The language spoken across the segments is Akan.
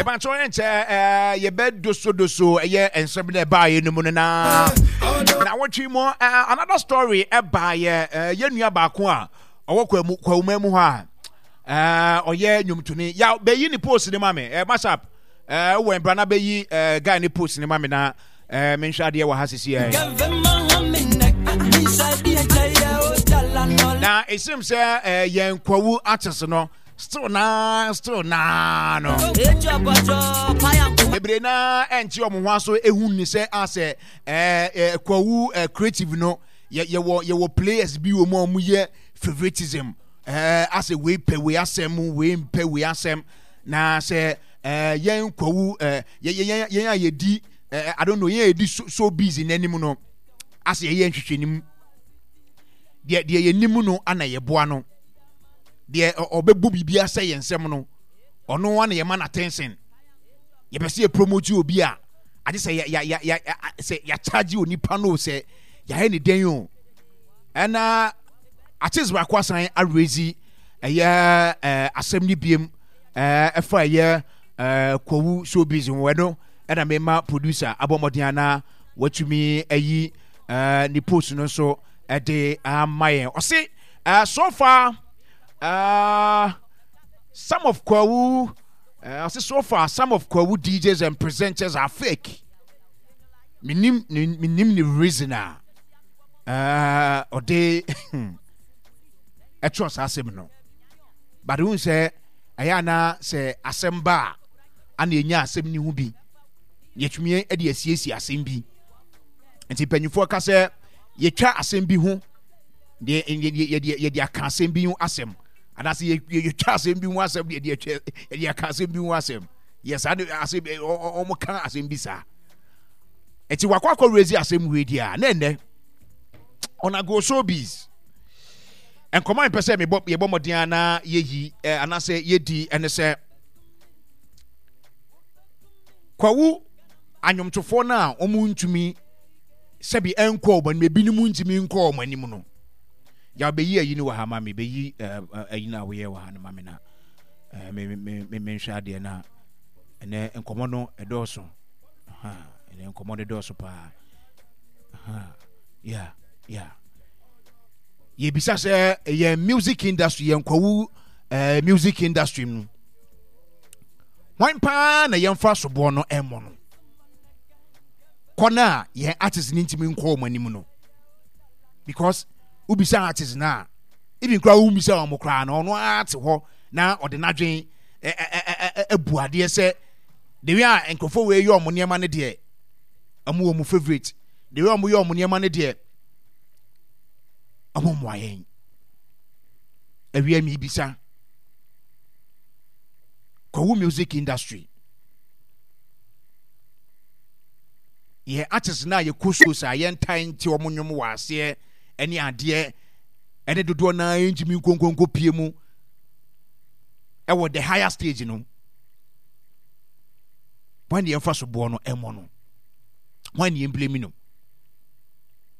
Mepakyɛw ɛnkyɛ ɛɛ yɛbɛdosodoso ɛyɛ nsɛm na ɛbaayɛ no mu no na na wɔtwe mu ɛɛ another story ɛbaayɛ ɛɛ yɛn nua baako a ɔwɔ kwamu kwawuma mu hɔ a ɛɛ ɔyɛ nnwomtoni ya bɛyi ne post ne ma me ɛɛ masap ɛɛ wɔ mbra na bɛyi ɛɛ guy ne post ne ma me na ɛɛ menhwɛ adeɛ wɔ ha sisi ɛɛ na esim sɛ ɛɛ yɛn kwawu artist no. Still naa, still naa no. Bebree naa ɛnte wɔn ho aso ehu ni sɛ asɛ ɛɛ ɛɛ kwawu ɛɛ creative no yɛ yɛwɔ yɛwɔ players bi wɔ mu a wɔn yɛ favoritism ɛɛ asɛ wei pɛ wei asɛm wei mpɛ wei asɛm na sɛ ɛɛ yɛn kwawu ɛɛ yɛ yɛ yɛn a yɛdi ɛɛ I don't know yɛn a yɛdi so so busy n'anim no asɛ yɛyɛ nhwehwɛnim deɛ deɛ yɛnim no ana yɛboa no. Deɛ ɔbɛbɔ biribi asɛ yɛn nsɛm no, ɔno ara na yɛma no attention. Yɛpɛ sɛ yɛpromote obi a, agye sɛ yɛ yɛ yɛ sɛ yɛakyagye onipa no sɛ yɛayɛ ne dɛn o. Ɛna artist baako asan arezi ɛyɛ ɛɛ asɛm no biem ɛɛ ɛfa ɛyɛ ɛɛ kwawu showbiz ho ɛno ɛna mema producer abɔ mmɔden ana watumi ayi ɛɛ ne post no nso ɛde ama yɛn. Ɔse so far, some of Kwawu, so far, some of Kwawu DJs and presenters are fake. Minim, minim the reason a ɔde ɛtwerɛ saa asɛm no. But wohu sɛ ɛyɛ ana sɛ asɛm ba a ana ɛnya asɛm no ho bi yɛtumi de asiesie asɛm bi nti mpanyinfoɔ ka sɛ yɛtwa asɛm bi ho deɛ yɛde yɛde aka asɛm bi ho asɛm anaasɛ yɛtwa asɛm bi ho asɛm deɛ yɛde yɛde aka asɛm bi ho asɛm yɛ saa de asɛm wɔn ka asɛm bi saa ɛti wakɔ akɔ rezi asɛm wei deɛ a na ɛnɛ ɔnago showbiz nkɔmɔ a mpɛ sɛ mebɔ yɛbɔ mmɔden a na yɛyi ɛ anaasɛ yɛdi ɛne sɛ kwawu anwomtofoɔ no a wɔn ntumi sɛbi ɛnkɔ wɔn anim ebinom ntumi nkɔ wɔn anim no yaw bɛyi ayi no wɔ ha ma me bɛyi ayi no a woyɛ wɔ ha no ma me na me me me menhwɛ adeɛ na ɛnɛ nkɔmɔ no ɛdɔɔso ɛnɛ nkɔmɔ no ɛdɔɔso paa yeah yeah yɛbisa sɛ yɛn music industry yɛn kwawu ɛɛ music industry mu wɔn paa na yɛmfa soboɔ no ɛmmɔ no kɔ no a yɛn artist no ntumi nkɔ wɔn anim no because wobisa artist no a even koraa wommisa wɔn koraa no ɔno ara te hɔ na ɔde n'adwen abu adeɛ sɛ the way a nkurɔfoɔ wei yɛ wɔn nneɛma no deɛ wɔn wɔ wɔn favourite the way wɔn yɛ wɔn nneɛma no deɛ wɔn mmoa yɛn awia mi bisa kɔwu music industry Yɛn artists no a yɛkɔ shows a yɛntae nte wɔn nnwom wɔ aseɛ ne adeɛ ɛne dodoɔ no ara ntumi nkonkonko pie mu ɛwɔ the higher stage no wɔn ne yɛmfa so boɔ no ɛmmɔ no wɔn ne yɛmblemi no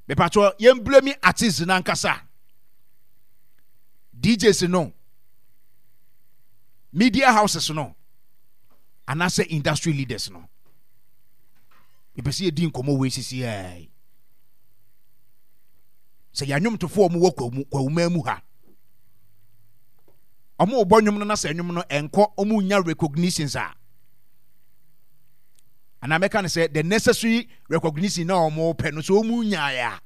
mepatwɔ yɛmblemi artists no ankasa DJs no media houses no anaasɛ industry leaders no mepɛ sɛ yɛdi nkɔmmɔ wei sisi ɛɛ sɛ yɛn anwomtofoɔ a wɔwɔ kwawuma mu ha wɔn bɔ nnwom no na sɛ nnwom no ɛnkɔ wɔn nya recognitions a anaa mɛka no sɛ the necessary recognition na wɔn pɛ no sɛ wɔn nyaeɛ a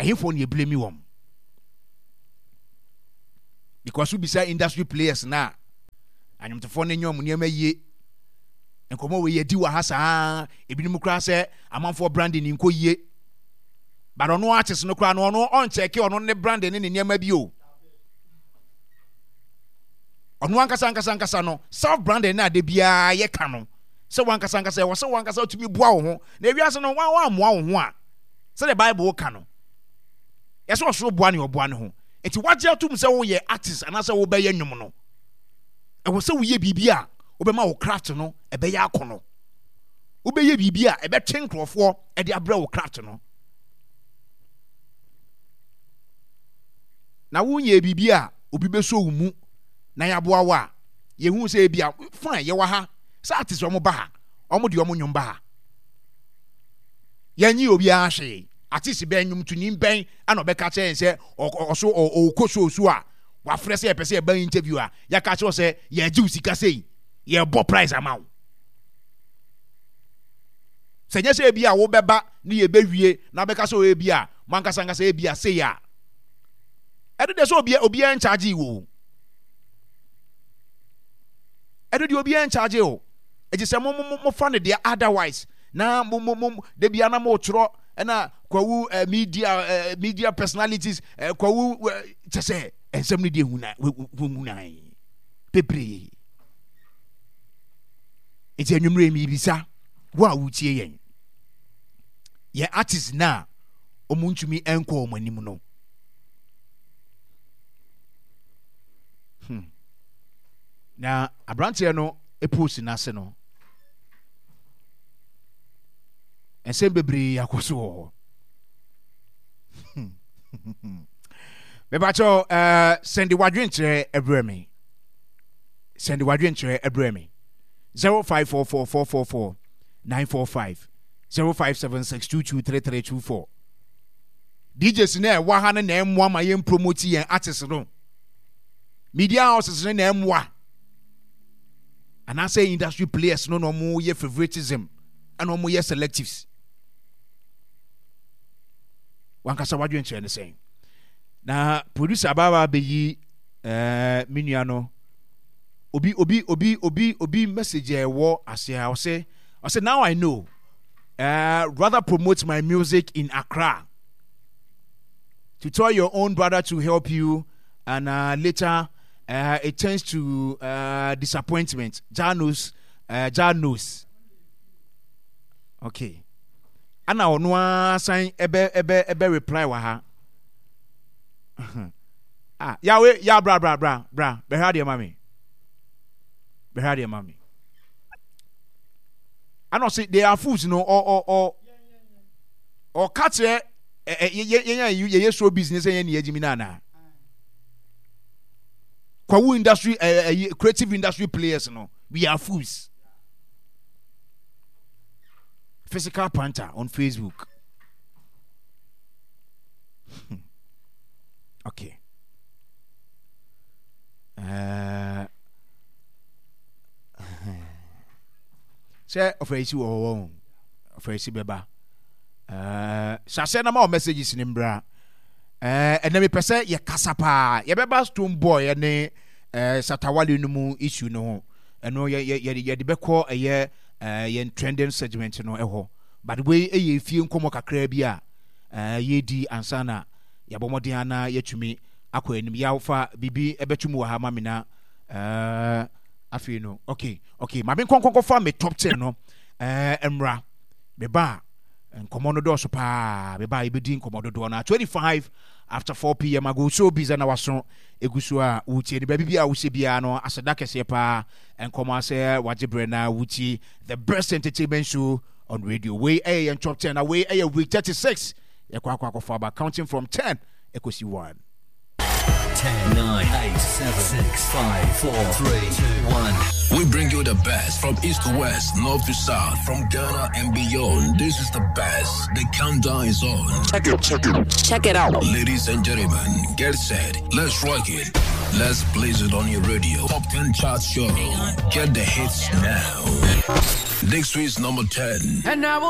ɛhefoɔ na yɛblame wɔn because wobisa industry players na anwomtofoɔ no nyɛ wɔn nneɛma yie nkɔmmɔ wei yɛdi wɔ ha saa ebinom koraa sɛ amanfoɔ branding nkɔ yie but ɔno artist no koraa no ɔno ɔnkyɛke ɔno ne branding ne ne nneɛma bi o ɔno ankasa ankasa ankasa no self branding na ade biara yɛka no sɛ wankasa ankasa ɛwɔ sɛ wankasa wotumi boa wo ho na ewiase no wɔn ammoa wo ho a sɛdeɛ bible ka no yɛsɛ ɔsoro boa ne ɔboa ne ho nti wagye atom sɛ woyɛ artist anaasɛ wobɛyɛ nnwom no ɛwɔ sɛ woyɛ biribi a wobɛma wo craft no ɛbɛyɛ akɔnɔ. Wobɛyɛ biribi a ɛbɛtwe nkurɔfoɔ de abrɛ wo craft no. Na wonyɛ biribi a obi bɛsɔ wo mu na yɛaboa wo a, Yɛhu sɛ ebia fine yɛwɔ ha sɛ artist wɔn ba ha, wɔn de wɔn nnwom ba ha. Yɛnyi obiara hwee. Artist bɛn nnwomtoni bɛn ɛna ɔbɛka kyerɛ yɛn sɛ ɔso ɔkɔ show so a wafrɛ sɛ yɛpɛ sɛ yɛba interview a yɛaka kyerɛ sɛ yɛgye wo sika sei yɛbɔ price ama wo. Sɛ nyɛ sɛ ebi a wobɛba ne yɛbɛwie na bɛka sɛ ebi a mo ankasa ankasa ebi a sei a ɛno deɛ sɛ obiara nkyagye wo ɛno deɛ obiara nkyagye o ɛti sɛ mo mo mo fa no deɛ otherwise na mo mo mo de bia na mo twerɛ ɛna kwawu eh, media eh, media personalities eh, kwawu eh, kyɛ sɛ nsɛm no deɛ huna hunan bebree nti anwummerɛ mebisa wo a wotie yɛn yɛn artist no a wɔn ntumi nkɔ wɔn anim no hmm. Na aberanteɛ no post no ase no nsɛm bebree akɔ so wɔ hɔ mebakyɛw uh, sɛnde wadwenkyerɛ ɛbrɛ me sɛnde wadwenkyerɛ ɛbrɛ me 054444 945 0576223324 DJs na ɛwɔ ha no na ɛmmoa ma yɛn promote yɛn artist no media houses no na ɛmmoa anaasɛ industry players no na wɔn yɛ favoritism ɛna wɔn yɛ selectives wankasa wadwenkyerɛ ne sɛn na producer abaawa bɛyi ɛɛ eh, me nua no obi obi obi obi obi message a ɛwɔ ase a ɔsɛ ɔsɛ now I know uh, rather promote my music in Accra to tell your own brother to help you and uh, later uh, it turns to uh, disappointment. Jah knows. Uh, Jah knows. Okay. Ana ɔno ara san ɛbɛ ɛbɛ ɛbɛ reply wɔ ha. ah, yawe ya bra bra bra bra bɛhwɛ adeɛ ma me. Bɛhwɛ adeɛ ma me. Ana ɔse they are fools no ɔ ɔ ɔ ɔka kyerɛ ɛ yɛ yɛn a yɛyɛ show business yɛn ni yɛgyimi no anaa. Kwawu industry eh, eh, creative industry players no we are fools physical panther on facebook okay uh, sɛ ɔfɛ si wɔ hɔ wɔn ɔfɛ si bɛba hyɛ aseɛ na ma wɔ messages ne mbra Eh, ɛnɛ mepɛ sɛ yɛkasa paa. Yɛbɛba Stone Boy ne eh, Shatawale no mu issue no ho. Ɛno yɛde bɛkɔ ɛyɛ eh, yɛn trending segment no ɛhɔ. But wei ɛyɛ efie nkɔmmɔ kakraa bi a eh, yɛdi ansa na yɛabɔ mmɔden ana yɛatumi akɔ anim. Yɛafa biribi ɛbɛto mu wɔ ha ma me na eh, afei no okay okay ma me nkɔnkɔnkɔfa me top 10 no eh, mmra meba a Nkɔmmɔ no dɔɔso paa. Bɛba a yɛbɛdi nkɔmmɔ dodoɔ no a 25 after 4 pm ago so bisa na waso ɛgu so a wotie no baabi bi a wohyɛ biara no aseda kɛseɛ paa nkɔmmɔ asɛ wagye berɛ na wotie the best entertainment show on radio. Wei ɛyɛ yɛn top 10 na wei ɛyɛ week 36 yɛkɔ akɔ akɔfo aba counting from 10 ɛkɔsi 1. 10, 9, 8, 7, 6, 5, 4, 3, 2, 1. We bring you the best from east to west, north to south, from Ghana and beyond. This is the best. The countdown is on. Check it, check it, check it out. Ladies and gentlemen, get set. Let's rock it. Let's blaze it on your radio. Top 10 chart show. Get the hits now. Next week's number 10. And I will.